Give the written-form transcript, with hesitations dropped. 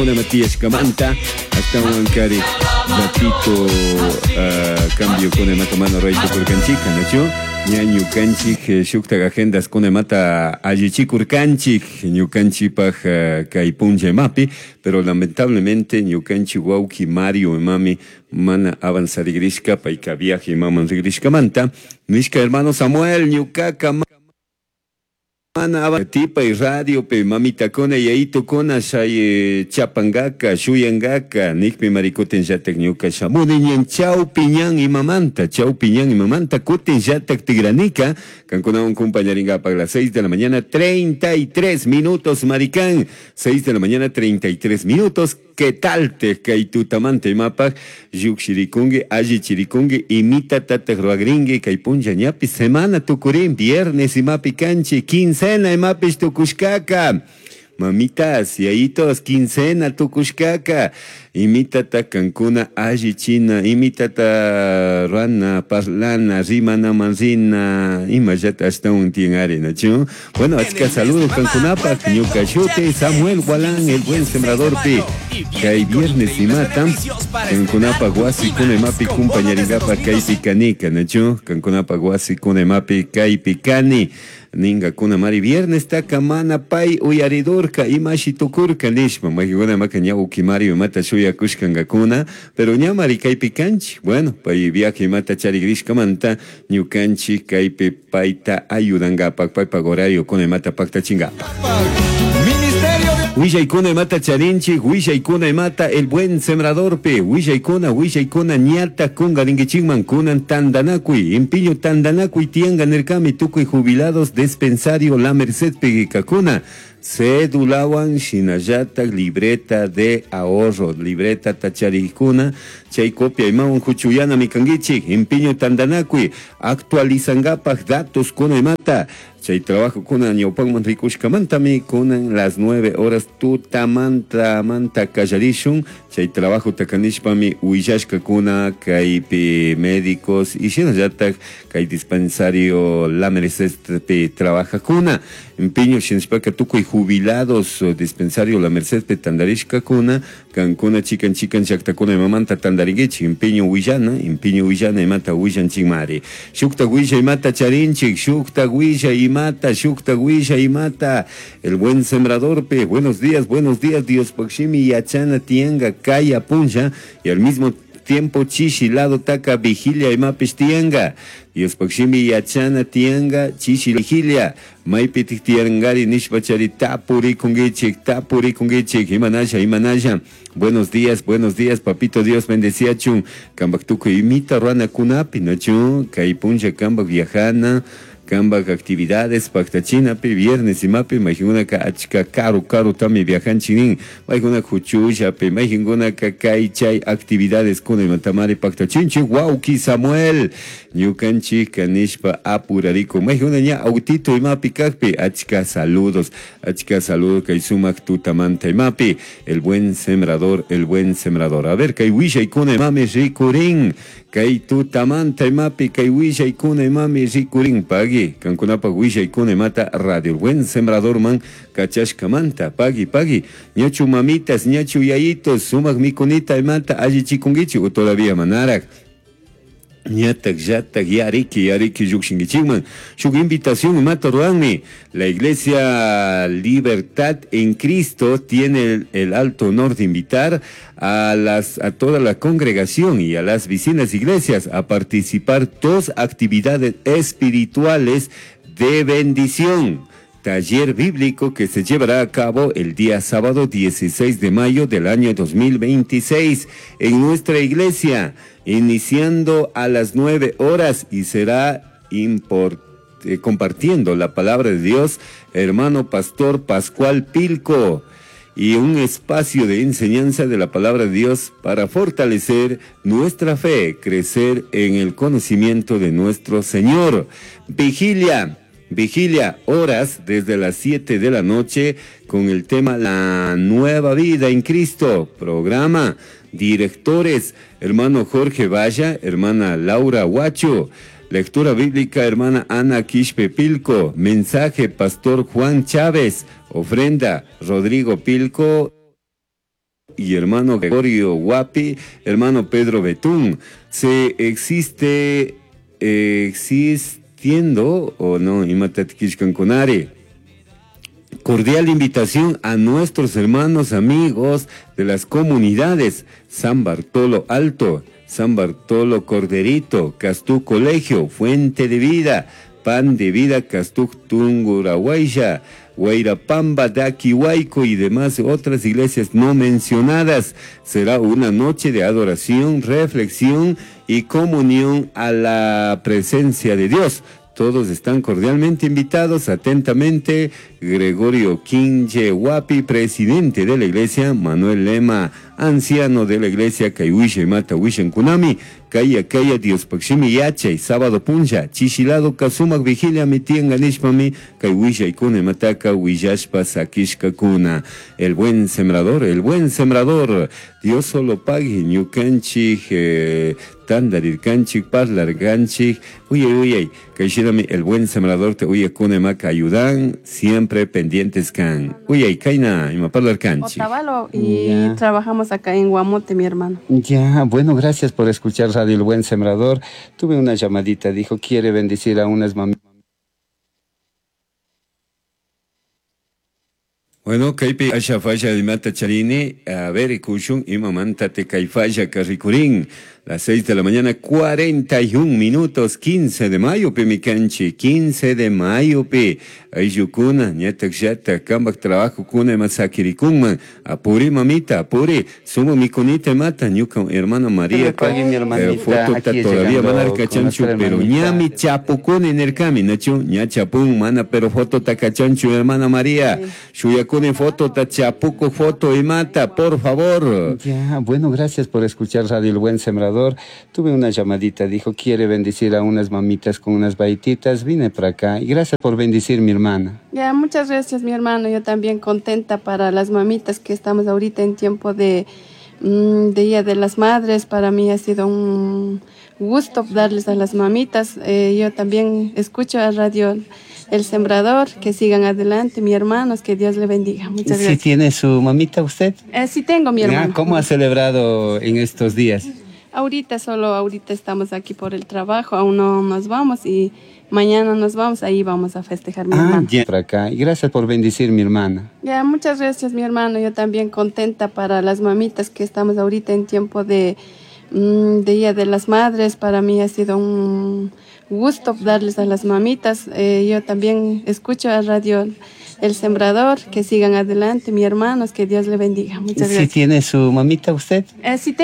Matías ashtahuankari ratito cambio kuna imata mana ruray tukurkanchika, nachu? Ña ñukanchik shuktak agendas kuna imata allichikurkanchik ñukanchikpak kay punlla imapi, pero lamentablemente ñukanchik wawki Mario imami mana avanzarigrishka, payka viaje imaman rigrishkamanta, nishka hermano Samuel ñukaka mana tipay radiopi mamitakuna yayitukuna shay chapangaka shuyangaka nikpi mari kutin llatak ñuka shamuni ñan chawpi ñan imamanta chawpi ñan imamanta kutin llatak tigranika kankunawan compañarinkapak las 6 de la mañana 33 minutos, maricán, 6 de la mañana 33 minutos. ¿Qué tal te kay tutamanta imapak llukshirikunki allichirikunki imitatataq ruagrinki kay punlla ñapi semana tukurin viernes imapi kanchik quincena imapish tukushkaka? Mamitas, yayitos, quincena tukushkaka. Imitata kankuna allichina, imitata ruana, parlana, rimana manrina, imallata ashtawan tiyan nachu. Bueno, achka saludos kankunapaq, ñuka shuti Samuel Gualán, el buen sembrador pi. Kay viernes imata, kankunapaq wasi kuna imapi kumpañaringapaq kaypi kanika, nachu. Kankunapaq wasi kuna imapi kaypi kani. Ningakuna mari viernes taka mana pay uyaridurka imashi tukurka nishpa mayqikuna imaka ña ukimari imata shuyakushkankakuna, pero ña mari kaypi kanchik. Bueno, pay viaje imata charigrishkamanta ñukanchik kaypi payta ayudankapak paypak horario kuna imata paktachinkapak. Willaykuna imata charinchik, willaykuna imata el buen sembradorpi, willaykuna, willaykuna ñata kungarinkichikman kunan tandanakuy, impiño tandanakuy tiyanka nirkami tukuy jubilados dispensario La Merced kakuna, cédulawan shinallatak libreta de ahorro, libreta tacharikuna, chay copia imawan huchuyanami kankichik, impiño tandanakuy, actualizankapak datos kuna imata, chay trabajo kuna ñawpanman rikushkamantami kunan las 9 horas tutamanta manta kallarishun chay trabajo takanishpami willashkakuna kaypi médicos y shinallatak kay dispensario La Merced trabajakuna empeño shinashpaka tukuy jubilados dispensario La Merced tandarishkakuna kankuna chikan chikan llaktakuna imamanta tandarinkichik empeño willana empeño willana imata willanchikmari shuktak willa imata charinchik shuktak willa imata shuktak willa imata el buen sembrador pe buenos días Dios pakshimi yachana tianga kaya punlla y al mismo tiempo chishi lado taka vigilia imapish tianga Dios pakshimi yachana tianga chishi vigilia maypi tiangari nishpa chari tapurikunkichik tapurikunkichik imanasha imanasha. Buenos días, papito Dios bendeciachun kambak tukuy imita ruanakunapi nachu kay punlla kambak viajana kambak actividades paktachinapi viernes imapi mayqinkunaka achka karu karutami viajanchik nin mayqinkunaka huchullapi mayqinkunaka kay chay actividades kuna imatamari paktachinchik wawki Samuel ñukanchik kanishpa apurarikun mayqinkuna ña autito imapi kakpi achka saludos kay sumak tutamanta imapi el buen sembrador, el buen sembrador. A ver, kay willaykuna imami rikurin kay tutamanta imapi kay willaykuna imami rikurin pagui kankunapak willaykuna imata radio el buen sembrador man kachashkamanta pagui pagui ñachu mamitas ñachu yayitos sumak mikunita imata allichikunkichik o todavía manarak ñatak llatak yariki yariki llukshinkichikman shuk invitación imata ruranmi la Iglesia Libertad en Cristo tiene el alto honor de invitar a toda la congregación y a las vecinas iglesias a participar dos actividades espirituales de bendición. Taller bíblico que se llevará a cabo el día sábado 16 de mayo del año 2026 en nuestra iglesia, iniciando a las 9 horas y será compartiendo la palabra de Dios, hermano pastor Pascual Pilco, y un espacio de enseñanza de la palabra de Dios para fortalecer nuestra fe, crecer en el conocimiento de nuestro Señor. Vigilia. Vigilia, horas desde las 7 de la noche con el tema La Nueva Vida en Cristo. Programa, directores, hermano Jorge Valla, hermana Laura Huacho. Lectura bíblica, hermana Ana Quispe Pilco. Mensaje, pastor Juan Chávez. Ofrenda, Rodrigo Pilco. Y hermano Gregorio Guapi, hermano Pedro Betún. Se existe, existiendo o no, kunari. Cordial invitación a nuestros hermanos amigos de las comunidades San Bartolo Alto, San Bartolo Corderito, Castú Colegio, Fuente de Vida, Pan de Vida, Castú Tungurahuaya, Guairapamba, Daquihuayco y demás otras iglesias no mencionadas. Será una noche de adoración, reflexión y comunión a la presencia de Dios. Todos están cordialmente invitados. Atentamente, Gregorio Quinche Huapi, presidente de la iglesia, Manuel Lema, anciano de la iglesia, Kayuisha y Mata Kunami, Kaya Kaya Dios Pakshimi Yachay, sábado puncha, Chishilado Kasumak Vigilia Mitianga Nishpami, Kayuisha y Kune Mataka, Huillashpa Sakishka Kuna. El buen sembrador, el buen sembrador, Dios solo pague, Ñukanchik, Tandarirkanchik, Parlarganchik, uye uye, Kaishirami, el buen sembrador te uye Kune Maka ayudan, siempre pendientes kan. Uye, Kaina, ima parlarkanchik. Otavalo y trabajamos acá en Guamote, mi hermano. Ya, bueno, gracias por escuchar Radio El Buen Sembrador. Tuve una llamadita, dijo, quiere bendecir a unas mamitas. Bueno, kaypi asha falla imata charini, a ver, kushun imamanta te kay falla karrikurin. Las 6 de la mañana, 41 minutos, 15 de mayo, pe mi canchi, 15 de mayo, pe. Ayllukuna, ñatak llata, kambak trabajo kuna ima sakirikunman. Apuri mamita, apuri, sumo mikunita mata, ñuka hermana María, Pague, mi hermanita, foto ta aquí todavía llegando mana con kachanchu, nuestra pero hermanita. ñami chapukuni nirkami, nachu, ña chapun, mana, pero foto ta kachanchu, hermana María. Shuyakuni foto ta chapuco foto y mata, por favor. Ya, bueno, gracias por escuchar Radio El Buen Sembrador. Tuve una llamadita, dijo, quiere bendecir a unas mamitas con unas baititas. Vine para acá y gracias por bendecir mi hermana. Ya, muchas gracias, mi hermano. Yo también contenta para las mamitas que estamos ahorita en tiempo de, de Día de las Madres. Para mí ha sido un gusto darles a las mamitas. Yo también escucho a Radio El Sembrador. Que sigan adelante, mi hermanos. Que Dios le bendiga. Muchas ¿Sí gracias. tiene su mamita usted? Sí tengo, mi Ya, hermano. ¿Cómo ha celebrado en estos días? Ahorita solo, ahorita estamos aquí por el trabajo, aún no nos vamos y mañana nos vamos, ahí vamos a festejar, mi Ah, hermano. ya, para acá. Y gracias por bendecir mi hermana. Ya, muchas gracias, mi hermano. Yo también contenta para las mamitas que estamos ahorita en tiempo de, de Día de las Madres. Para mí ha sido un gusto darles a las mamitas. Yo también escucho a Radio El Sembrador. Que sigan adelante, mi hermanos. Que Dios le bendiga. Muchas ¿Sí gracias. tiene su mamita usted? Sí tengo.